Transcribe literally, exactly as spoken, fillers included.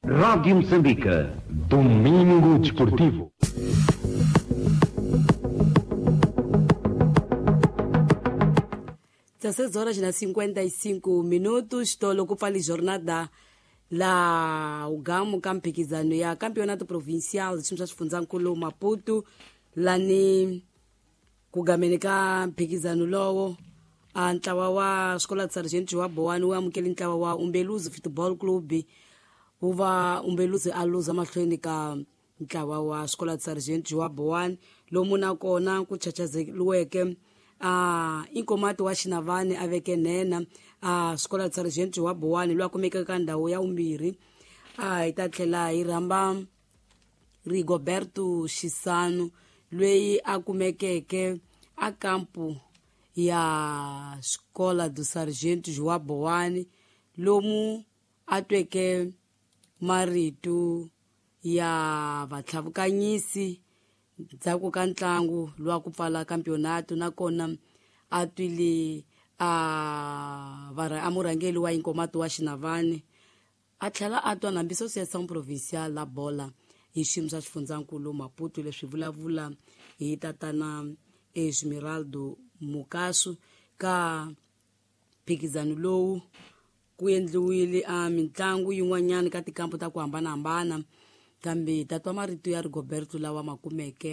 Rádio Moçambique. Domingo Desportivo. dezesseis horas na cinquenta e cinco minutos tolo ku pfali jornada la ugamu ka mphikizano ya campeonato provincial xiyimo xa xifundzankulu Maputo lani ku gameni ka mphikizano lowo a ntlawa wa Escola de Sargento wa Boane wu amukele ntlawa wa Umbeluzi Football Club wu va Umbeluzi a luza mahlweni ka ntlawa wa Escola de Sargento wa Boane lomu nakona ku chachazeliweke a inkomati wa Xinavani a veke nhenha a Escola de Sargento wa Boane loyi a kumekaka ka ndhawu ya vumbirhi. A hi ta tlhela hi rhamba Rigoberto Xisano loyi a kumekeke a kampu ya Escola do Sargento João Boane lomu a tweke marito ya vatlhavukanyisi ndzhaku ka ntlangu lowa ku pfala campeonato nakona a twile a vara a murhangeri wa inkomato wa Xinavani a tlhela a twa na Associação Provincial la Bola hi xiyimo xa xifundzankulu Maputo leswi vulavula hi tatana Esmeraldo Mukasu ka mphikizano lowu ku endliwile a mitlangu yin'wanyana ka tikampu ta ku hambanahambana kambe tatwa marito ya Rigoberto lawa ma kumeke.